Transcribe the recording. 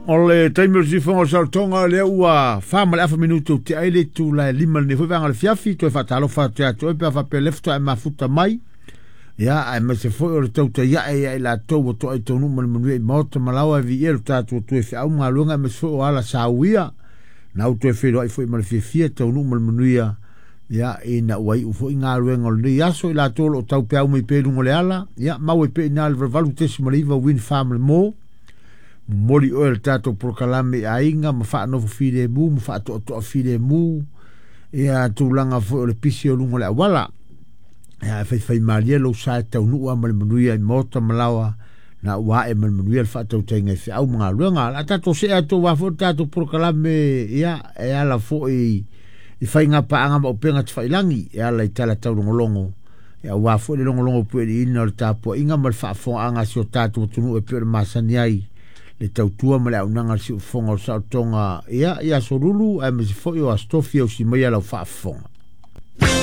O le taimi o le siufofoga o le saolotoga lea ua 4:30 minute ua tea ai le itula e 5 lenei foi vaega o le afiafi. Toe faatalofa atu ia te oe pe a faapea le faatoa e mafuta mai. Ia, aemaise foi o le tautai ae ia i latou ua toai taunuu ma le manuia i maota ma laoa e viia lo tatou Atua i feau ma galuega, aemaise foi o ala sauia. Na ou toe feiloai foi ma le fiafia taunuu ma le manuia. Ia, ina ua iu foi galuega o lenei aso i latou o lo o taupeau mai pea i luga o le ala. Ia, mau ai pea i ina le 88.9 Win Farm le mo. Momoli oe le tatou polokalame i aiga ma faanofo filemu ma faatoatoa filemu. Ia, tulaga foi o le pisi o luga o le auala. Ia, e faifai malie lou sa e taunuu ma le manuia i maota ma laoa na ua ae ma le manuia le faatautaiga i feau ma galuega. La tatou see atu aua foi le tatou polokalame, ia, e ala foi i faiga paaga ma upega tafailagi, e ala i tala taulogologo, ia aua foi le logologo pueliina o le tapuaiga ma le faafofogaaga a si o tatou atunuu e pei ona masani ai le tautua ma le auaunaga a le siufofoga o le saolotoga, ia, i aso lulu aemaise foi o aso tofi e usi mai lau faafofoga.